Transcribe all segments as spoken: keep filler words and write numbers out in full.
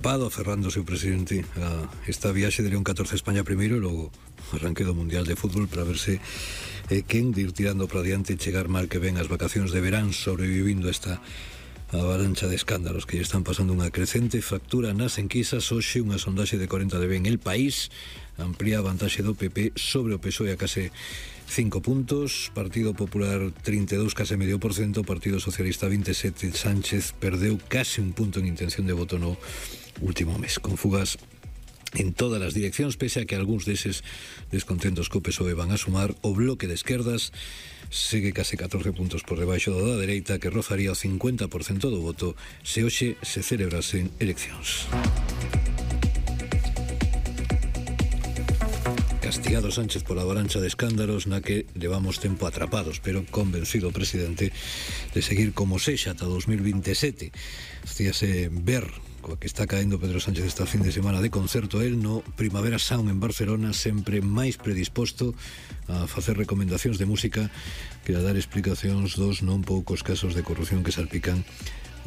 Pado aferrándose o presidente a esta viaxe de León catorce a España primeiro e logo arranque do Mundial de Fútbol para verse eh, quen de ir tirando para diante e chegar mal que ven as vacacións de verán sobrevivindo esta avalancha de escándalos que lle están pasando unha crecente factura nas enquisas. Hoxe unha sondaxe de corenta de Ben El País amplía a vantaxe do P P sobre o P S O E a case cinco puntos, Partido Popular trinta e dous, case medio por cento, Partido Socialista vinte e sete, Sánchez perdeu case un punto en intención de voto no último mes, con fugas en todas as direccións, pese a que algúns deses descontentos co P S O E van a sumar. O bloque de esquerdas segue case catorce puntos por debaixo do da dereita, que rozaría o cincuenta por cento do voto se hoxe se celebrasen eleccións. Castigado Sánchez pola avalancha de escándalos na que levamos tempo atrapados, pero convencido o presidente de seguir como sexa ata dos mil vinte e sete. Estíase ver coa que está caendo Pedro Sánchez esta fin de semana de concerto el no Primavera Sound en Barcelona, sempre máis predisposto a facer recomendacións de música que a dar explicacións dos non poucos casos de corrupción que salpican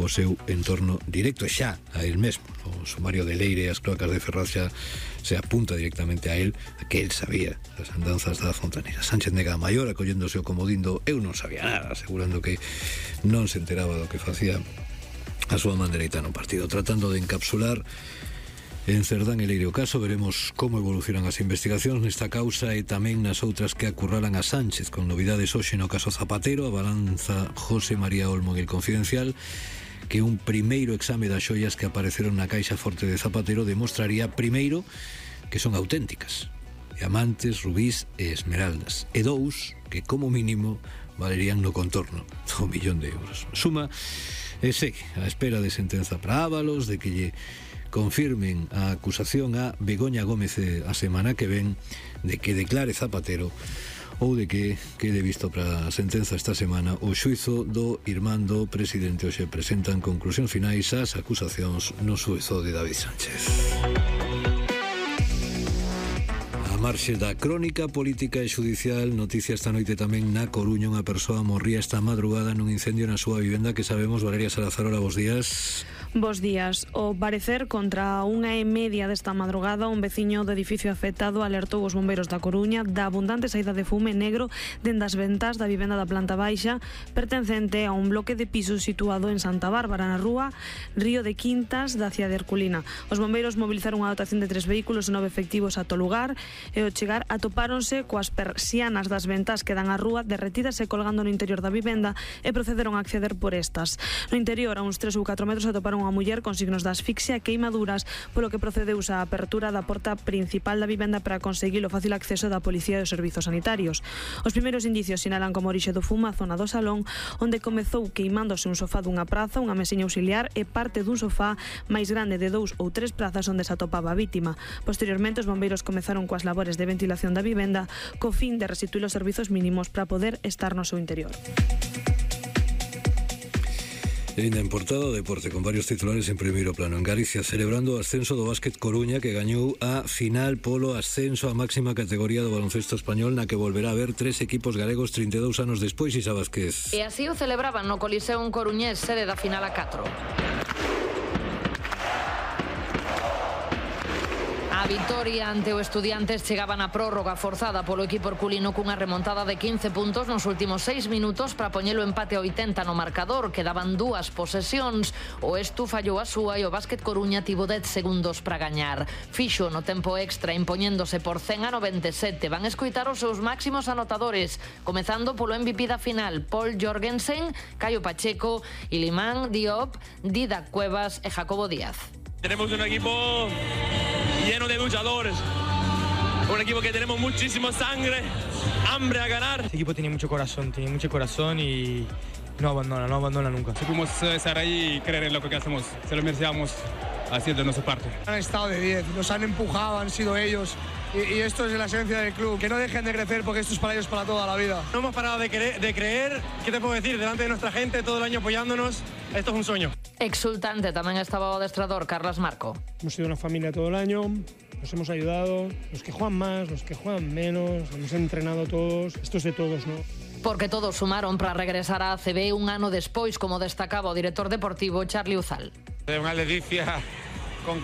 o seu entorno directo, e xa a el mesmo. O sumario de Leire e as cloacas de Ferraz xa se apunta directamente a él, a que él sabía as andanzas da fontanera. Sánchez nega a maior, acolléndose o comodín do eu non sabía nada, asegurando que non se enteraba do que facía a súa man dereita no partido, tratando de encapsular en Cerdán e Leire o caso. Veremos como evolucionan as investigacións nesta causa e tamén nas outras que acurralan a Sánchez, con novidades hoxe no caso Zapatero. Abalanza José María Olmo en El Confidencial que un primeiro exame das xoias que apareceron na caixa forte de Zapatero demostraría, primeiro, que son auténticas, diamantes, rubís e esmeraldas, e dous, que como mínimo valerían no contorno do millón de euros. Suma e segue a espera de sentenza para Ábalos, de que lle confirmen a acusación a Begoña Gómez a semana que ven, de que declare Zapatero, ou de que quede visto para a sentenza esta semana o xuizo do irmán do presidente. Hoxe presentan conclusións finais ás acusacións no xuizo de David Sánchez. A marxe da crónica política e xudicial, noticia esta noite tamén na Coruña. Unha persoa morría esta madrugada nun incendio na súa vivenda, que sabemos. Valeria Salazar, hola, bos días. Bos días. O parecer contra unha e media desta madrugada, un veciño do edificio afectado alertou os bombeiros da Coruña da abundante saída de fume negro dende as ventas da vivenda da planta baixa pertencente a un bloque de pisos situado en Santa Bárbara, na rúa Río de Quintas da cidade de Herculina. Os bombeiros movilizaron unha dotación de tres vehículos e nove efectivos ata o lugar, e ao chegar atopáronse coas persianas das ventas que dan á rúa derretidas e colgando no interior da vivenda, e procederon a acceder por estas. No interior, a uns tres ou catro metros, atoparon unha muller con signos de asfixia e queimaduras, polo que procedeuse a apertura da porta principal da vivenda para conseguir o fácil acceso da policía e os servizos sanitarios. Os primeiros indicios sinalan como orixe do fumo a zona do salón, onde comezou queimándose un sofá dunha praza, unha mesiña auxiliar e parte dun sofá máis grande de dous ou tres prazas onde se atopaba a vítima. Posteriormente, os bombeiros comezaron coas labores de ventilación da vivenda co fin de restituir os servizos mínimos para poder estar no seu interior. E ainda en portada o deporte, con varios titulares en primeiro plano. En Galicia, celebrando o ascenso do Básquet Coruña, que gañou a final polo ascenso á máxima categoría do baloncesto español, na que volverá a haber tres equipos galegos trinta e dous anos despois. Isa Vázquez. E así o celebraban no Coliseo en Coruñés, sede da final a catro. A vitoria ante o Estudiantes chegaba na prórroga forzada polo equipo herculino cunha remontada de quince puntos nos últimos seis minutos para poñelo empate a oitenta no marcador. Quedaban dúas posesións, o Estu fallou a súa e o Básquet Coruña tivo dez segundos para gañar. Fixo no tempo extra impoñéndose por cen a noventa e sete. Van escoitar os seus máximos anotadores, comezando polo M V P da final, Paul Jorgensen, Caio Pacheco, Iliman Diop, Didac Cuevas e Jacobo Díaz. Tenemos un equipo lleno de luchadores, un equipo que tenemos muchísima sangre, hambre a ganar. Este equipo tiene mucho corazón, tiene mucho corazón y no abandona, no abandona nunca. Supimos estar ahí y creer en lo que hacemos, se lo merecíamos haciendo nuestra parte. Han estado de diez, nos han empujado, han sido ellos. Y, y esto es la esencia del club, que no dejen de crecer porque esto es para ellos para toda la vida. No hemos parado de, cre de creer, ¿qué te puedo decir? Delante de nuestra gente, todo el año apoyándonos, esto es un sueño. Exultante tamén estaba o adestrador Carlos Marco. Hemos sido una familia todo el año, nos hemos ayudado, los que juegan más, los que juegan menos, hemos entrenado todos, esto es de todos, ¿no? Porque todos sumaron para regresar a A C B un ano despois, como destacaba o director deportivo Charlie Uzal. É unha ledicia con que